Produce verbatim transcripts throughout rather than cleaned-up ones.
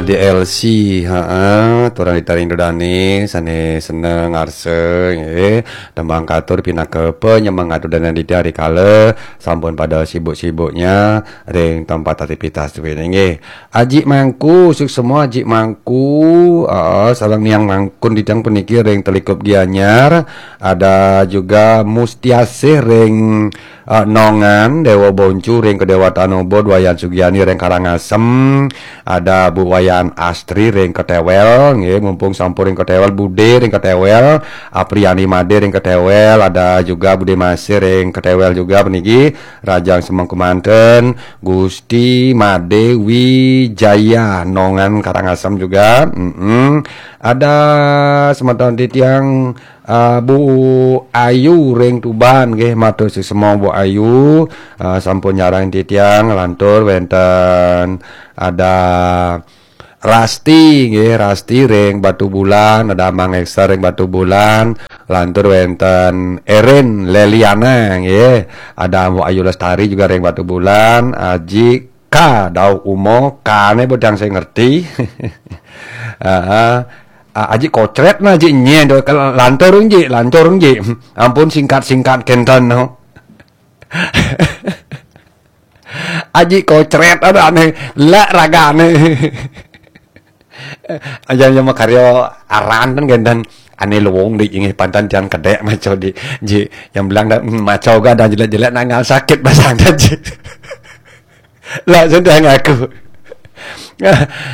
D L C, heeh, turang ditaring dodane, sane seneng ngarsa, nggih. Tembang katur pinaka panyemangat dodane didi hari kala sampun pada sibuk-sibuknya ring tempat aktivitas duene, nggih. Aji Mangku, suksma Aji Mangku, heeh, sareng Niang Mangkun didang puniki ring Telikup Gianyar, ada juga Mustiasih ring eh, Nongan, Dewa Boncu ring Kedewatan Ubud, Wayan Sugiani ring Karangasem, ada Bu Wayan Astri ring Ketewel, nggih, mumpung sampun ring Ketewel, Bude ring Ketewel, Apriani Made ring Ketewel, ada juga Bude Masih ring Ketewel juga puniki, Rajang Semengku manten, Gusti Made Wijaya Nongan Karangasem juga. Mm-mm. Ada semeton titiang, ah, Bu Ayu ring Tuban, nggih, matur suksma Bu Ayu, ah, sampun nyarengin titiang. Lantur wenten ada Rasti, nggih, Rasti ring Batubulan, ada Mang Eksa ring Batubulan, lantur wenten Erin Leliana, nggih, ada Bu Ayu Lestari juga ring Batubulan, Aji Ka Daud Uma, kane bodang saya ngerti. Heeh. Ah, Aji Kocret na Aji Nye, do, kal-, lantur, Ji, lantur, Ji. Ampun, singkat-singkat kenten, no. Aji Kocret, ada aneh, la ragane. Aja yang makarya aran kan gendan ane luwung di inggih pantan tiang kedek maco di, Ji, yang bilang dah, hmm, maco ga dah jelek-jelek nangal sakit basang dah, Ji. Lah sudah ngaku.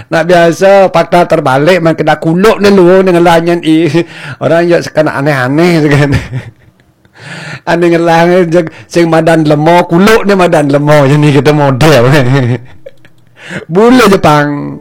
Nak biasa patah terbalik, man kena kuluk ni luwung dengan lanyan i. Orang ya sekena aneh-aneh tu kan. Ane ngelang je sing madan lemo, kuluk ni madan lemo, jadi kita model. Bule Jepang.